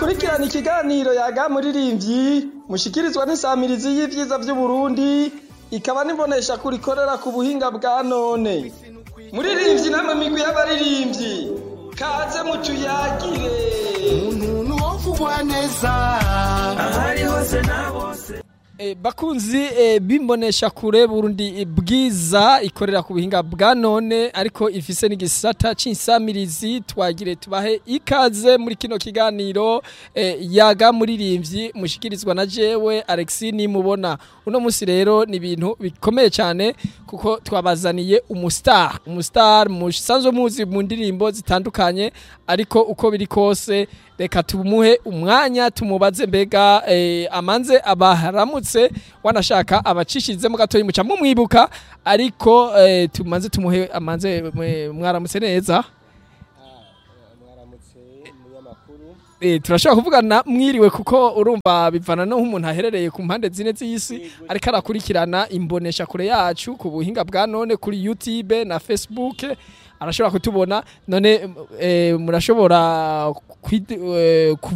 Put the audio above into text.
Mukurikirana ikiganiro Yaga Muririmbyi mushikirizwa n'insamirizi y'ivyiza vy'Uburundi, ikaba n'imbonesha kure ikorera ku buhinga bwa none. Muririmbyi namwe migwi y'abaririmbyi, kaze mutuyagire. Umuntu wovugwa neza ahari hose na bose. Bakunzi bimbonesha kure Burundi Bwiza ikorera ku buhinga bwa none, ariko ifise n'igisata c'insamirizi, twagire tubahe ikaze muri kino kiganiro Yaga Muririmbyi mushikirizwa na jewe Alexis Nimubona. Uno musi rero ni ibintu bikomeye cyane kuko twabazaniye umustar musanzwe muzi mu ndirimbo zitandukanye, ariko uko biri kose reka tumuhe umwanya tumubaze mbega amanze abaharamutse, wanashaka abacishizemo gatoyi muca mumwibuka, ariko tumanze tumuhe amanze. Mwaramutse neza? Mwaramutse, munyamakuru. Turashobora kuvugana mwiriwe, kuko urumva bivana no nk'umuntu aherereye ku mpande zine z'isi ariko arakurikirana imbonesha kure yacu ku buhinga bwa none kuri YouTube na Facebook, arashobora kutubona. None murashobora.